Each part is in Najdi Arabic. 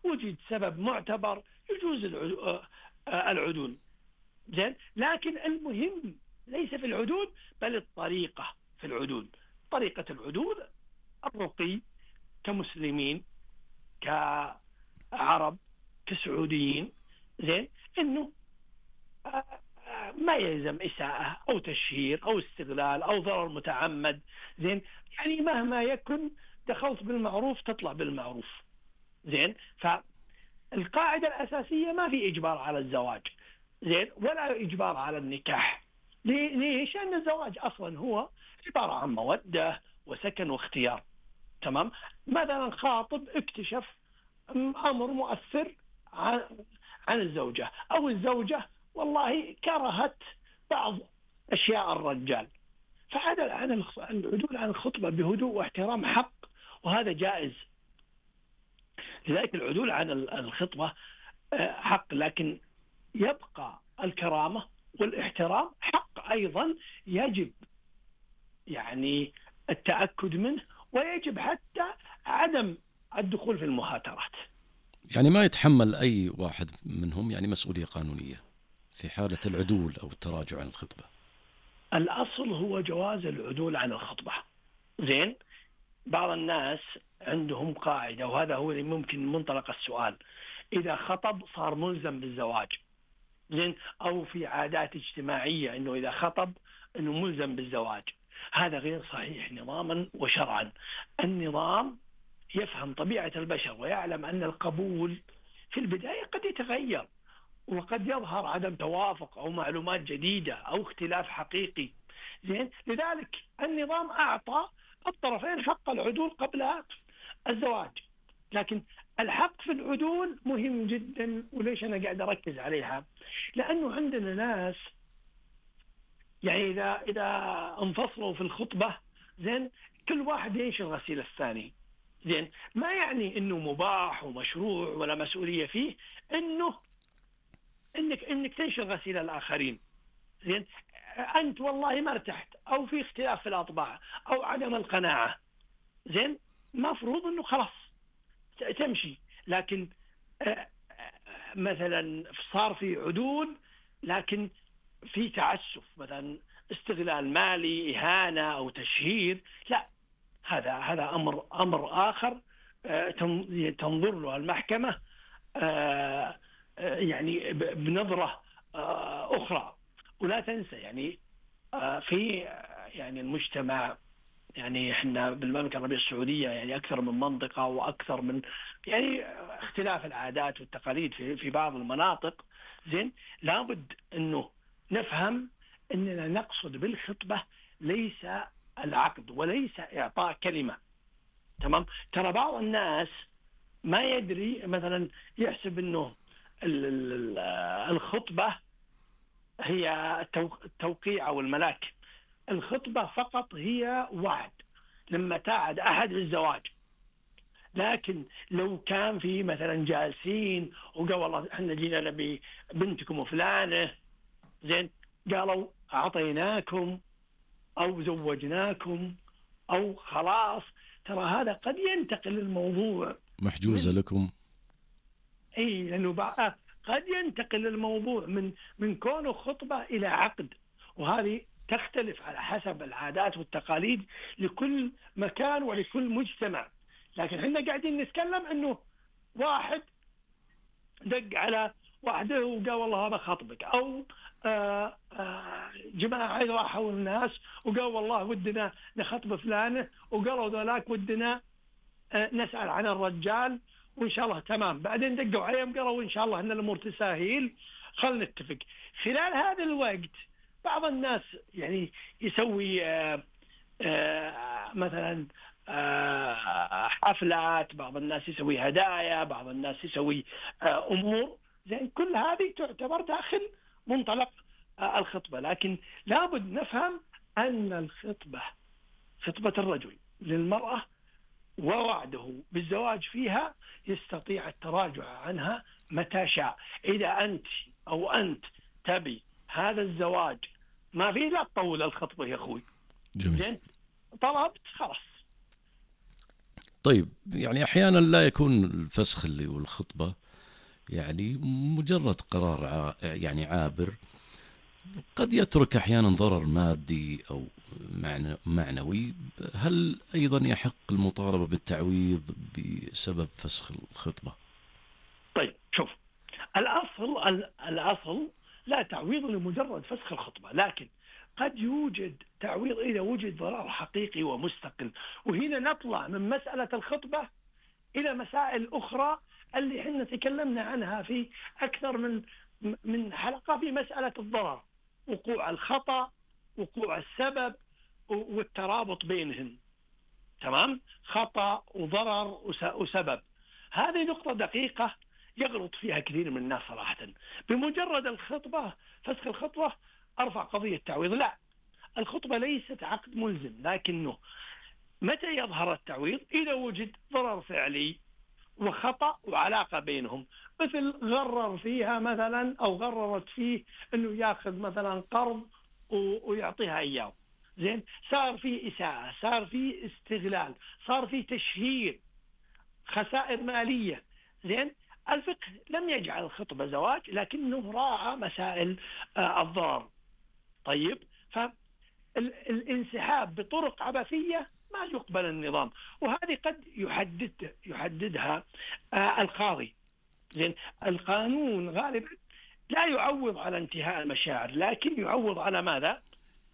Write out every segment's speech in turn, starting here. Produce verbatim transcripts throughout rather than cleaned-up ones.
وجد سبب معتبر يجوز العدول. زين، لكن المهم ليس في العدول بل الطريقة في العدول. طريقة العدول الرقي كمسلمين كعرب كسعوديين، زين، انه ما يلزم إساءة أو تشهير أو استغلال أو ضرر متعمد. زين، يعني مهما يكن دخلت بالمعروف تطلع بالمعروف. زين، فالقاعدة الأساسية ما في إجبار على الزواج، زين، ولا إجبار على النكاح. ليش؟ لأن الزواج أصلا هو عبارة عن مودة وسكن واختيار. تمام. مثلا خاطب اكتشف أمر مؤثر عن الزوجة، أو الزوجة والله كرهت بعض أشياء الرجال، فعدل عن العدول عن الخطبة بهدوء واحترام حق، وهذا جائز. لذلك العدول عن الخطبة حق، لكن يبقى الكرامة والاحترام حق أيضا يجب يعني التأكد منه، ويجب حتى عدم الدخول في المهاترات. يعني ما يتحمل أي واحد منهم يعني مسؤولية قانونية في حالة العدول أو التراجع عن الخطبة. الأصل هو جواز العدول عن الخطبة. زين، بعض الناس عندهم قاعدة، وهذا هو اللي ممكن منطلق السؤال، إذا خطب صار ملزم بالزواج. زين، أو في عادات اجتماعية أنه إذا خطب أنه ملزم بالزواج. هذا غير صحيح نظاما وشرعا. النظام يفهم طبيعة البشر ويعلم أن القبول في البداية قد يتغير، وقد يظهر عدم توافق أو معلومات جديدة أو اختلاف حقيقي. زين، لذلك النظام أعطى الطرفين حق العدول قبل الزواج. لكن الحق في العدول مهم جدا، وليش أنا قاعد أركز عليها؟ لأنه عندنا ناس يعني إذا إذا انفصلوا في الخطبة، زين، كل واحد ينشر غسيل الثاني. زين، ما يعني إنه مباح ومشروع ولا مسؤولية فيه إنه إنك إنك تنشر غسيل الآخرين. زين، أنت والله ما ارتحت أو في اختلاف في الأطباع أو عدم القناعة، زين، مفروض إنه خلاص تمشي. لكن مثلا صار في عدول لكن في تعسف، مثلا استغلال مالي، إهانة أو تشهير، لا، هذا هذا أمر أمر آخر تنظر له المحكمة يعني بنظرة أخرى. ولا تنسى يعني في يعني المجتمع، يعني احنا بالمملكة العربية السعودية يعني أكثر من منطقة وأكثر من يعني اختلاف العادات والتقاليد في في بعض المناطق. زين، لابد إنه نفهم إننا نقصد بالخطبة ليس العقد وليس إعطاء كلمة. تمام. ترى بعض الناس ما يدري، مثلا يحسب إنه الخطبة هي التوقيع أو الملاك. الخطبة فقط هي وعد لما تعد أحد بالزواج. لكن لو كان في مثلا جالسين وقال والله احنا جينا نبي بنتكم وفلانة، زين، قالوا أعطيناكم أو زوجناكم أو خلاص، ترى هذا قد ينتقل الموضوع محجوزة من... لكم. أي، لأنه بقى قد ينتقل الموضوع من من كونه خطبة إلى عقد، وهذه تختلف على حسب العادات والتقاليد لكل مكان ولكل مجتمع. لكن احنا قاعدين نتكلم انه واحد دق على واحده وقال والله هذا خطبك، او آآ آآ جماعه راحوا الناس وقال والله ودنا نخطب فلانه، وقالوا ذولاك ودنا نسأل عن الرجال وإن شاء الله تمام. بعدين دقوا عليهم قالوا إن شاء الله أن الأمور تساهيل، خلنا نتفق. خلال هذا الوقت بعض الناس يعني يسوي آآ آآ مثلا آآ حفلات، بعض الناس يسوي هدايا، بعض الناس يسوي أمور، زين، كل هذه تعتبر داخل منطلق الخطبة. لكن لابد نفهم أن الخطبة، خطبة الرجل للمرأة ووعده بالزواج فيها، يستطيع التراجع عنها متى شاء. إذا أنت أو أنت تبي هذا الزواج ما فيه، لا تطول الخطبة يا أخوي. جميل. زين، طلبت خلاص. طيب يعني أحيانا لا يكون الفسخ اللي والخطبة يعني مجرد قرار ع... يعني عابر، قد يترك أحيانا ضرر مادي أو معنى معنوي. هل أيضا يحق المطالبة بالتعويض بسبب فسخ الخطبة؟ طيب شوف، الأصل الأصل لا تعويض لمجرد فسخ الخطبة، لكن قد يوجد تعويض إذا وجد ضرر حقيقي ومستقل. وهنا نطلع من مسألة الخطبة إلى مسائل أخرى اللي احنا تكلمنا عنها في أكثر من من حلقة، في مسألة الضرر، وقوع الخطأ، وقوع السبب، والترابط بينهم. تمام؟ خطأ وضرر وسبب، هذه نقطة دقيقة يغلط فيها كثير من الناس صراحة. بمجرد الخطبة، فسخ الخطبة، أرفع قضية تعويض. لا، الخطبة ليست عقد ملزم، لكنه متى يظهر التعويض؟ إذا وجد ضرر فعلي وخطأ وعلاقة بينهم، مثل غرر فيها مثلا أو غررت فيه أنه يأخذ مثلا قرض ويعطيها إياه، زين، صار في إساءة، صار في استغلال، صار في تشهير، خسائر مالية، زين. الفقه لم يجعل الخطبة زواج، لكنه راعى مسائل الضرر. طيب، فالانسحاب بطرق عبثية ما يقبل النظام، وهذه قد يحدد يحددها القاضي. زين، القانون غالبا لا يعوض على انتهاء المشاعر، لكن يعوض على ماذا؟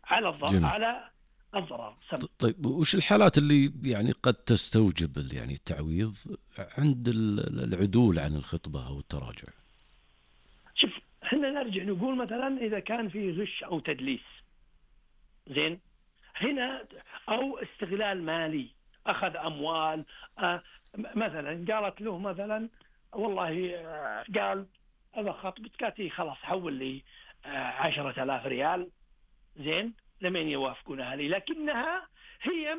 على الضرر، على الضرر. طيب، وش الحالات اللي يعني قد تستوجب يعني التعويض عند العدول عن الخطبة أو التراجع؟ شوف، احنا نرجع نقول مثلا إذا كان في غش أو تدليس، زين، هنا أو استغلال مالي، أخذ أموال، آه مثلا قالت له مثلا والله آه قال هذا خطبتك خلاص حول لي آه عشرة آلاف ريال، زين، لمن يوافقونها لي، لكنها هي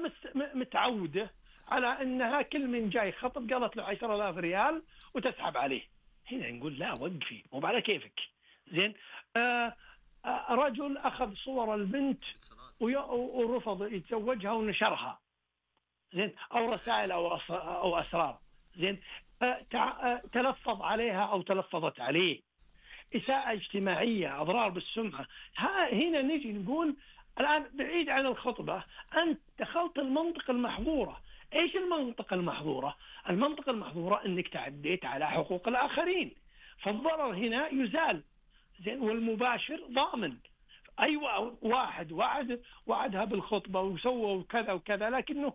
متعودة على أنها كل من جاي خطب قالت له عشرة آلاف ريال وتسحب عليه. هنا نقول لا، وقفي، مو على كيفك، زين. آه آه رجل أخذ صور البنت ورفض يتزوجها ونشرها، زين، أو رسائل أو أو أسرار، زين، آه تلفظ عليها أو تلفظت عليه، إساءة اجتماعية، أضرار بالسمعة. هنا نجي نقول الآن بعيد عن الخطبة، أنت دخلت المنطق المحظورة. إيش المنطق المحظورة؟ المنطق المحظورة أنك تعديت على حقوق الآخرين، فالضرر هنا يزال، زين، والمباشر ضامن. أيوة، واحد وعد وعدها بالخطبة وسوى كذا وكذا، لكنه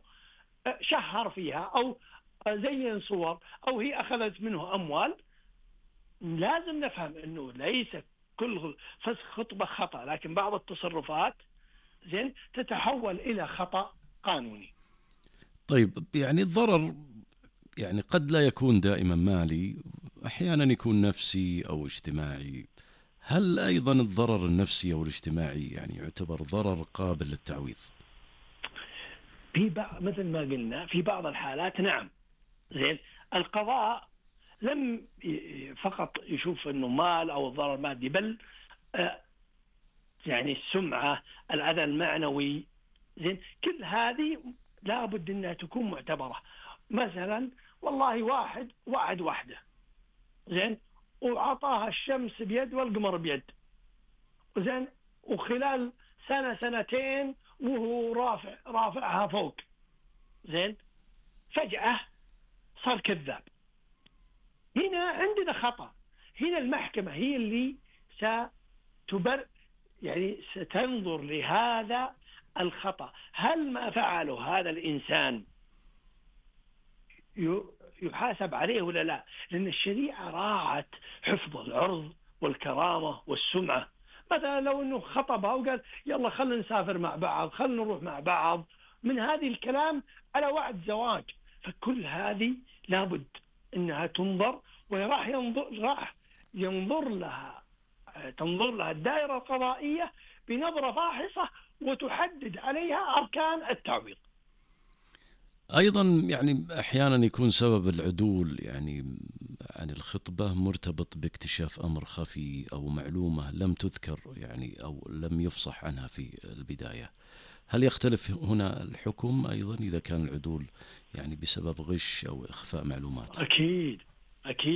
شهر فيها أو زين صور أو هي أخذت منه أموال. لازم نفهم أنه ليس كل فسخ خطبة خطأ، لكن بعض التصرفات، زين، تتحول إلى خطأ قانوني. طيب، يعني الضرر يعني قد لا يكون دائما مالي، أحيانا يكون نفسي أو اجتماعي. هل أيضا الضرر النفسي أو الاجتماعي يعني يعتبر ضرر قابل للتعويض؟ في بعض، مثل ما قلنا، في بعض الحالات نعم، زين. القضاء لم فقط يشوف أنه مال أو الضرر مادي، بل يعني السمعة، الأذى المعنوي، زين، كل هذه لابد أنها تكون معتبرة. مثلا والله واحد وعد واحدة، زين، وعطاها الشمس بيد والقمر بيد، زين، وخلال سنة سنتين وهو رافع رافعها فوق، زين، فجأة صار كذاب. هنا عندنا خطأ. هنا المحكمة هي اللي ستبر يعني ستنظر لهذا الخطأ، هل ما فعله هذا الإنسان يحاسب عليه ولا لا؟ لأن الشريعة راعت حفظ العرض والكرامة والسمعة. مثلا لو أنه خطبها وقال يلا خلنا نسافر مع بعض، خلنا نروح مع بعض، من هذه الكلام على وعد زواج، فكل هذه لابد أنها تنظر، وراح ينظر راح ينظر لها تنظر لها الدائرة القضائية بنظرة فاحصة وتحدد عليها أركان التعويض. أيضا يعني أحيانا يكون سبب العدول يعني عن الخطبة مرتبط باكتشاف أمر خفي أو معلومة لم تذكر يعني أو لم يفصح عنها في البداية. هل يختلف هنا الحكم أيضا إذا كان العدول يعني بسبب غش أو إخفاء معلومات؟ أكيد أكيد